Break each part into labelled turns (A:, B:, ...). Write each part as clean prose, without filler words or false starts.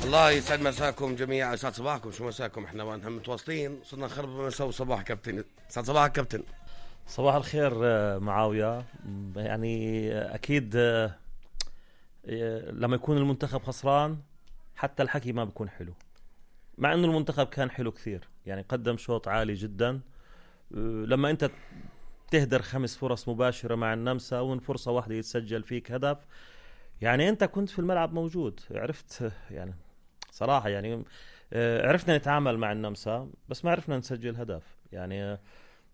A: الله يسعد مساكم جميعا، يسعد صباحكم. شو مساكم؟ احنا وين هم متواصلين، صرنا نخرب مساء وصباح. كابتن يسعد صباحك كابتن.
B: صباح الخير معاوية. يعني أكيد لما يكون المنتخب خسران حتى الحكي ما بيكون حلو، مع أنه المنتخب كان حلو كثير، يعني قدم شوط عالي جدا. لما أنت تهدر 5 فرص مباشرة مع النمسا ومن فرصة واحدة يتسجل فيك هدف، يعني أنت كنت في الملعب موجود، عرفت يعني صراحة يعني عرفنا نتعامل مع النمسا بس ما عرفنا نسجل هدف. يعني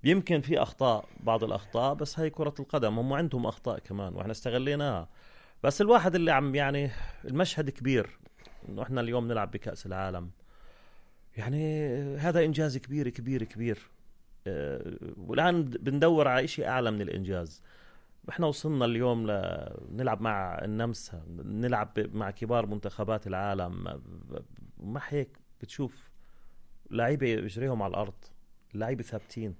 B: يمكن في أخطاء، بعض الأخطاء، بس هاي كرة القدم، هم عندهم أخطاء كمان وإحنا استغليناها. بس الواحد اللي عم يعني المشهد كبير إنه إحنا اليوم نلعب بكأس العالم، يعني هذا إنجاز كبير كبير كبير. والآن بندور على إشي أعلى من الإنجاز. إحنا وصلنا اليوم نلعب مع النمسا، نلعب مع كبار منتخبات العالم، ما هيك بتشوف لاعيبة يجريهم على الأرض، لاعيبة ثابتين،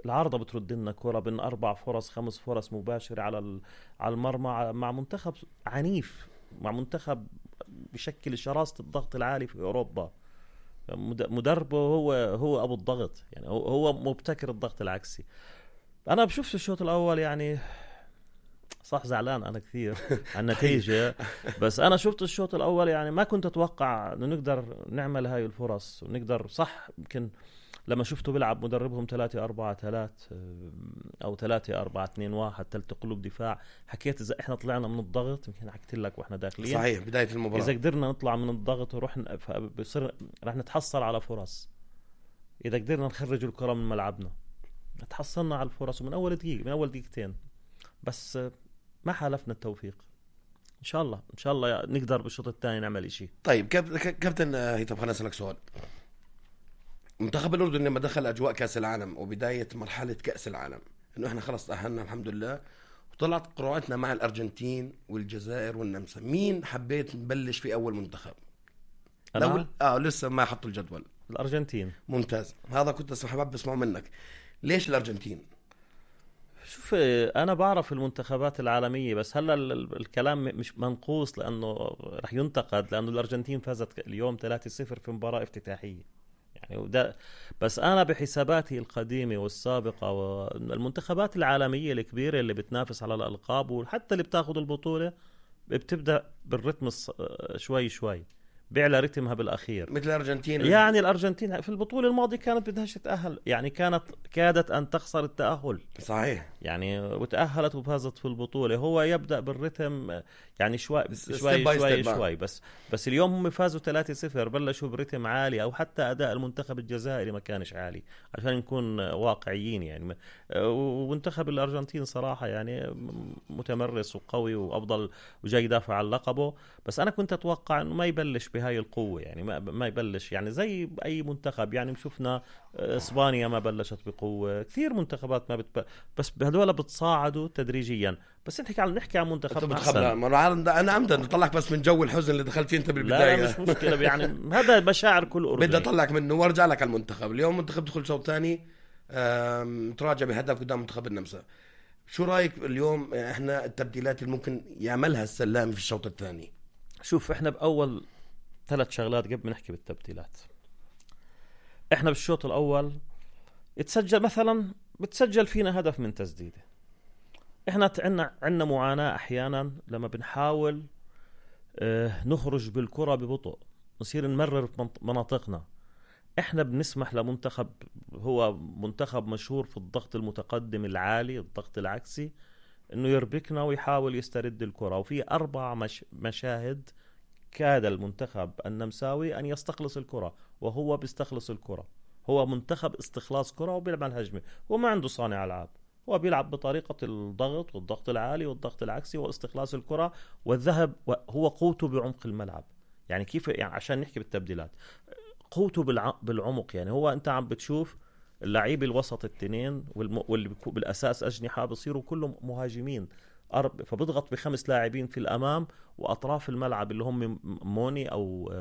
B: العارضة بترد لنا كرة بين 4 فرص 5 فرص مباشرة على المرمى، مع منتخب عنيف، مع منتخب بشكل شراسة الضغط العالي في أوروبا. مدربه هو أبو الضغط، يعني هو مبتكر الضغط العكسي. أنا بشوف الشوط الأول يعني صح زعلان أنا كثير عن النتيجة، بس أنا شفت الشوط الأول يعني ما كنت أتوقع إنه نقدر نعمل هاي الفرص ونقدر. صح يمكن لما شفته بيلعب مدربهم 3-4-3 أو 3-4-2-1 ثلاثة قلوب دفاع، حكيت إذا إحنا طلعنا من الضغط، يمكن حكيت لك وإحنا داخلين
A: صحيح بداية المباراة،
B: إذا قدرنا نطلع من الضغط ورحنا بصير رح نتحصل على فرص. إذا قدرنا نخرج الكرة من ملعبنا تحصلنا على الفرص من أول دقيقة، من أول دقيقتين، بس ما حالفنا التوفيق. إن شاء الله نقدر بالشوط الثاني نعمل إشي.
A: طيب كابتن هيثم، خليني أسألك سؤال. منتخب الأردن لما دخل أجواء كأس العالم وبداية مرحلة كأس العالم، إنه إحنا خلص تأهلنا الحمد لله وطلعت قراءتنا مع الأرجنتين والجزائر والنمسا، مين حبيت نبلش في أول منتخب؟ لسه ما حطوا الجدول.
B: الأرجنتين.
A: ممتاز، هذا كنت حابب أسمعه منك. ليش الأرجنتين؟
B: شوف أنا بعرف المنتخبات العالمية، بس هلا الكلام مش منقوص لأنه رح ينتقد، لأنه الأرجنتين فازت اليوم 3-0 في مباراة افتتاحية يعني، وده بس أنا بحساباتي القديمة والسابقة والمنتخبات العالمية الكبيرة اللي بتنافس على الألقاب وحتى اللي بتاخد البطولة بتبدأ بالرتم شوي شوي، بيعلى رتمها بالأخير.
A: مثل الأرجنتين،
B: يعني الأرجنتين في البطولة الماضية كانت بدهاش تتأهل، يعني كادت أن تخسر التأهل.
A: صحيح،
B: يعني وتأهلت وفازت في البطولة. هو يبدأ بالرتم يعني شوي بس اليوم هم فازوا 3-0، بلشوا برتم عالي، أو حتى أداء المنتخب الجزائري ما كانش عالي عشان نكون واقعيين يعني. ومنتخب الأرجنتين صراحة يعني متمرس وقوي وأفضل وجاي يدافع عن لقبه، بس أنا كنت أتوقع أنه ما يبلش بهاي القوة، يعني ما يبلش يعني زي أي منتخب. يعني شفنا إسبانيا ما بلشت بقوة، كثير منتخبات ما بس بهدول بتصاعدوا تدريجيا. بس نحكي عن منتخب أحسن.
A: أنا عمدا نطلعك بس من جو الحزن اللي دخلت فيه أنت بالبداية.
B: لا مش مشكلة يعني هذا مشاعر كل أردني.
A: بدي أطلعك منه وارجع لك على المنتخب. اليوم منتخب دخل شوط ثاني تراجع بهدف قدام منتخب النمسا. شو رأيك اليوم إحنا التبديلات اللي ممكن يعملها السلامي في الشوط الثاني؟
B: شوف إحنا بأول 3 شغلات قبل ما نحكي بالتبديلات. إحنا بالشوط الأول بتسجل فينا هدف من تسديده. إحنا عنا معاناة أحيانا لما بنحاول نخرج بالكرة ببطء، نصير نمرر مناطقنا. إحنا بنسمح لمنتخب هو منتخب مشهور في الضغط المتقدم العالي، الضغط العكسي، إنه يربكنا ويحاول يسترد الكرة. وفي 4 مشاهد كاد المنتخب النمساوي أن يستخلص الكرة، وهو بيستخلص الكرة. هو منتخب استخلاص كرة وبيلعب هجمة، هو ما عنده صانع ألعاب، هو بيلعب بطريقة الضغط والضغط العالي والضغط العكسي واستخلاص الكرة والذهب. هو قوته بعمق الملعب. يعني كيف يعني عشان نحكي بالتبديلات، قوته بالعمق. يعني هو أنت عم بتشوف اللعيب الوسط التنين واللي بالأساس أجنحة بصيروا كلهم مهاجمين، فبضغط ب5 لاعبين في الأمام، وأطراف الملعب اللي هم موني أو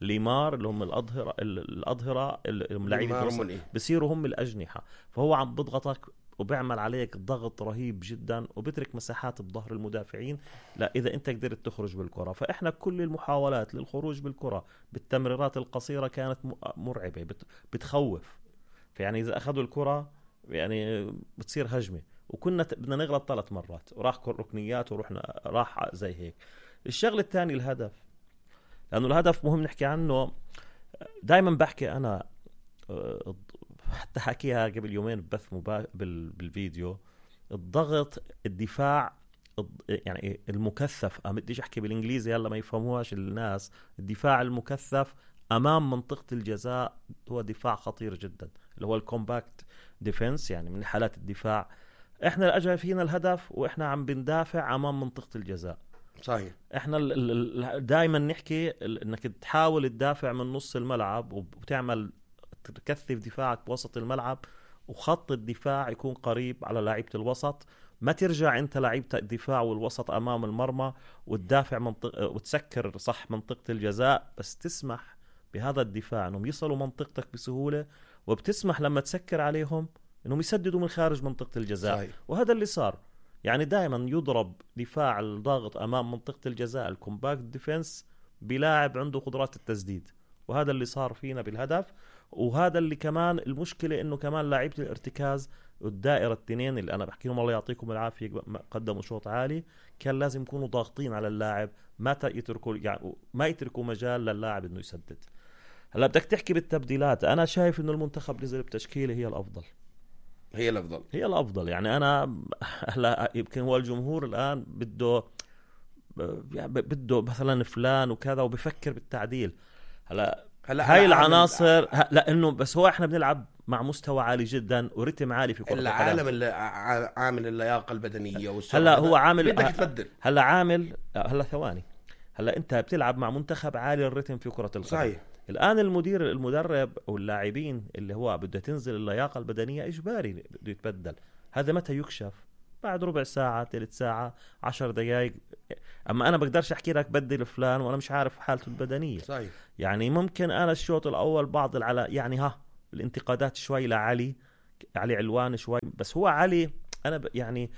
B: ليمار اللي هم الأظهرة اللاعبين بصيروا هم الأجنحة. فهو عم بضغطك وبيعمل عليك ضغط رهيب جدا وبترك مساحات بظهر المدافعين. لا إذا أنت قدرت تخرج بالكرة. فإحنا كل المحاولات للخروج بالكرة بالتمريرات القصيرة كانت مرعبة بتخوف. فيعني إذا أخذوا الكرة يعني بتصير هجمة، وكنا بدنا نغلط 3 مرات وراح ركنيات ورحنا راح زي هيك. الشغل الثاني الهدف، لأنه الهدف مهم نحكي عنه. دايما بحكي أنا حتى حكيها قبل يومين بث بالفيديو، الضغط الدفاع يعني المكثف، بديش احكي بالانجليزي هلا ما يفهموهاش الناس. الدفاع المكثف امام منطقة الجزاء هو دفاع خطير جدا، اللي هو الكومباكت ديفنس. يعني من حالات الدفاع احنا اجى فينا الهدف واحنا عم بندافع امام منطقة الجزاء.
A: صحيح.
B: احنا دائما نحكي انك تحاول تدافع من نص الملعب وتعمل تكثف دفاعك بوسط الملعب، وخط الدفاع يكون قريب على لاعيبة الوسط. ما ترجع انت لاعيبة الدفاع والوسط امام المرمى وتدافع وتسكر صح منطقة الجزاء، بس تسمح بهذا الدفاع انهم يصلوا منطقتك بسهولة، وبتسمح لما تسكر عليهم انهم يسددوا من خارج منطقة الجزاء.
A: صحيح.
B: وهذا اللي صار. يعني دائما يضرب دفاع الضاغط امام منطقة الجزاء الكومباكت ديفنس بلاعب عنده قدرات التسديد، وهذا اللي صار فينا بالهدف. وهذا اللي كمان المشكلة انه كمان لاعيبة الارتكاز والدائرة التنين اللي انا بحكيهم الله يعطيكم العافية قدموا شوط عالي، كان لازم يكونوا ضاغطين على اللاعب، ما يتركوا مجال للاعب انه يسدد. هلا بدك تحكي بالتبديلات، انا شايف انه المنتخب نزل بتشكيلة هي الافضل. يعني انا هلا يمكن هو الجمهور الان بده مثلا فلان وكذا وبفكر بالتعديل. هلا هاي العناصر لانه بس هو احنا بنلعب مع مستوى عالي جدا ورتم عالي في كرة القدم.
A: العالم اللي عامل اللياقة البدنية والسرعة.
B: هلا هو عامل
A: بدك تبدل.
B: هلا ثواني. هلا انت بتلعب مع منتخب عالي الرتم في كرة القدم.
A: صحيح.
B: الان المدرب او اللاعبين اللي هو بده تنزل اللياقة البدنية اجباري بده يتبدل. هذا متى يكشف؟ بعد ربع ساعة، 3 ساعة، 10 دقائق. اما انا بقدرش احكي لك بدل فلان وانا مش عارف حالته البدنية.
A: صحيح.
B: يعني ممكن انا الشوط الاول بعض يعني الانتقادات شوي لعلي علوان شوي، بس هو علي انا يعني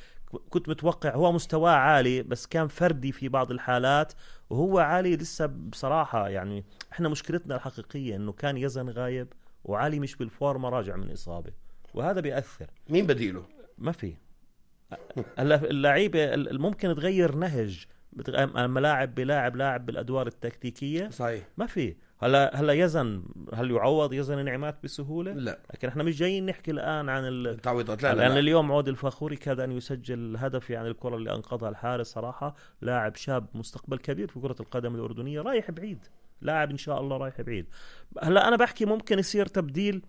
B: كنت متوقع هو مستواه عالي، بس كان فردي في بعض الحالات. وهو علي لسه بصراحة يعني احنا مشكلتنا الحقيقية انه كان يزن غايب وعلي مش بالفورمة راجع من اصابة، وهذا بيأثر.
A: مين بديله؟
B: ما في. اللعيبة ممكن تغير نهج الملاعب لاعب بالادوار التكتيكية.
A: صحيح.
B: ما في. هلا يزن هل يعوض يزن انعمات بسهولة؟
A: لا.
B: لكن احنا مش جايين نحكي الآن عن
A: التعويضات.
B: لأن اليوم عود الفخوري كاد أن يسجل هدف، يعني الكرة اللي أنقذها الحارس صراحة. لاعب شاب مستقبل كبير في كرة القدم الأردنية، رايح بعيد، لاعب إن شاء الله رايح بعيد. هلا أنا بحكي ممكن يصير تبديل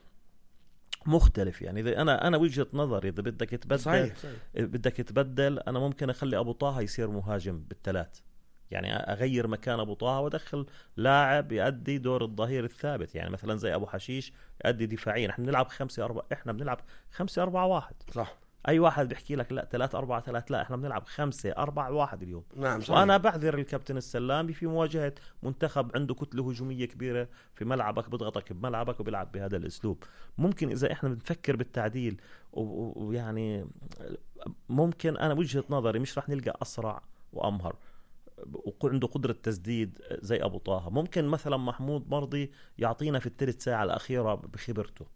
B: مختلف. يعني إذا أنا وجهة نظري إذا بدك تبدل
A: صحيح.
B: بدك تبدل، أنا ممكن أخلي أبو طه يصير مهاجم بالثلاث، يعني أغير مكان أبو طه وأدخل لاعب يؤدي دور الظهير الثابت، يعني مثلا زي أبو حشيش يؤدي دفاعيا. احنا بنلعب 5-4، احنا بنلعب 5-4-1.
A: صح.
B: أي واحد بيحكي لك لا 3-4-3، لا احنا بنلعب 5-4-1 اليوم.
A: نعم صحيح.
B: وأنا بعذر الكابتن السلامي في مواجهة منتخب عنده كتلة هجومية كبيرة في ملعبك، بضغطك بملعبك وبيلعب بهذا الأسلوب. ممكن إذا احنا بنفكر بالتعديل ويعني ممكن أنا وجهة نظري مش رح نلقى أسرع وأمهر وعنده قدرة تسديد زي أبو طه. ممكن مثلا محمود مرضي يعطينا في الثلث ساعة الأخيرة بخبرته،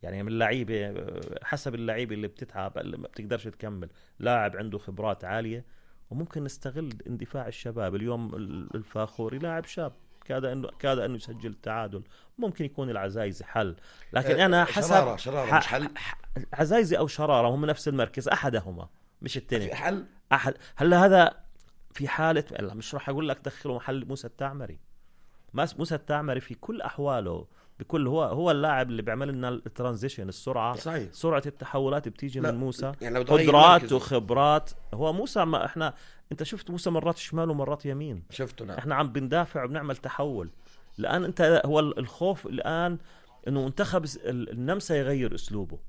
B: يعني من اللعيبة حسب اللعيبة اللي بتتعب اللي ما بتقدرش تكمل، لاعب عنده خبرات عالية. وممكن نستغل اندفاع الشباب. اليوم الفاخوري لاعب شاب كاد أنه يسجل التعادل. ممكن يكون العزايزي حل، لكن أنا حسب
A: شرارة مش حل.
B: عزايزي أو شرارة هم نفس المركز، أحدهما مش التاني.
A: في حل
B: أحد. هلا هذا في حالة مش راح أقول لك دخله محل موسى التعمري. موسى التعمري في كل أحواله بكل هو اللاعب اللي بيعمل لنا الترانزيشن، السرعة.
A: صحيح.
B: سرعة التحولات بتيجي من موسى،
A: يعني
B: قدرات وخبرات. هو موسى ما انت شفت موسى مرات شمال ومرات يمين،
A: شفته. نعم.
B: احنا عم بندافع وبنعمل تحول. الآن انت هو الخوف الآن انه منتخب النمسا يغير اسلوبه.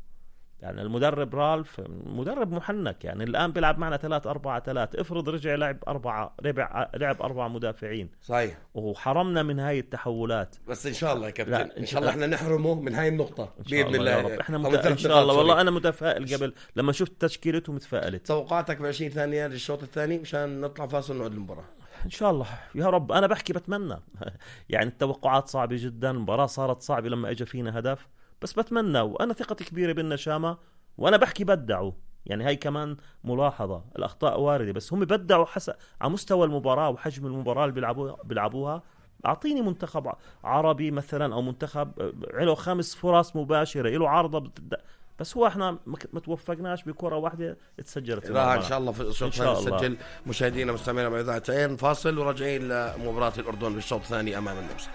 B: يعني المدرب رالف مدرب محنك، يعني الآن بيلعب معنا 3-4-3. افرض رجع لعب 4 مدافعين
A: صحيح،
B: وحرمنا من هاي التحولات.
A: بس إن شاء الله يا كابتن إن شاء الله إحنا نحرمه من هاي النقطة بإذن الله.
B: إحنا إن شاء الله والله أنا متفائل. قبل لما شفت تشكيلته متفائلت.
A: توقعاتك ب20 ثانية للشوط الثاني مشان نطلع فاصل ونعود المباراة؟
B: إن شاء الله يا رب. أنا بحكي بتمنى يعني التوقعات صعبة جدا، المباراة صارت صعبة لما إجا فينا هدف، بس بتمنى وأنا ثقتي كبيرة بالنشامة. وأنا بحكي بدعوا، يعني هاي كمان ملاحظة، الأخطاء واردة، بس هم بدعوا حسب على مستوى المباراة وحجم المباراة اللي بيلعبوها. أعطيني منتخب عربي مثلا أو منتخب له 5 فرص مباشرة له عارضة بس هو احنا ما توفقناش بكرة واحدة اتسجلت.
A: ان شاء الله في الشوط الثاني نسجل. مشاهدينا مستمعينا مع إذاعة عين، فاصل وراجعين لمباراة الأردن بالشوط الثاني أمام النمسا.